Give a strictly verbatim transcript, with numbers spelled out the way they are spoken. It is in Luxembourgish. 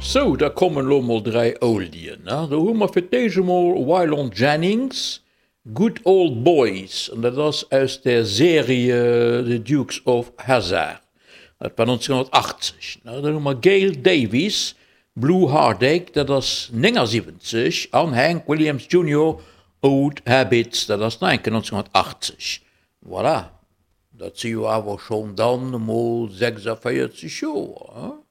Sou, da kommen elo mol dräi Oldien, ne? Do hu mer fir d'éischt emol Waylon Jennings, Good Old Boys, an dat ass aus der Serie The Dukes of Hazzard, dat war nonzénghonnertachtzeg, ne? Dann hu mer Gail Davies, Blue Heartache, dat ass néngasiwwenzeg, an Hank Williams Junior, Old Habits, dat ass nach eng Kéier nonzénghonnertachtzeg. Voilà, dat si jo awer schonn dann emol sechsavéierzeg Joer, hein?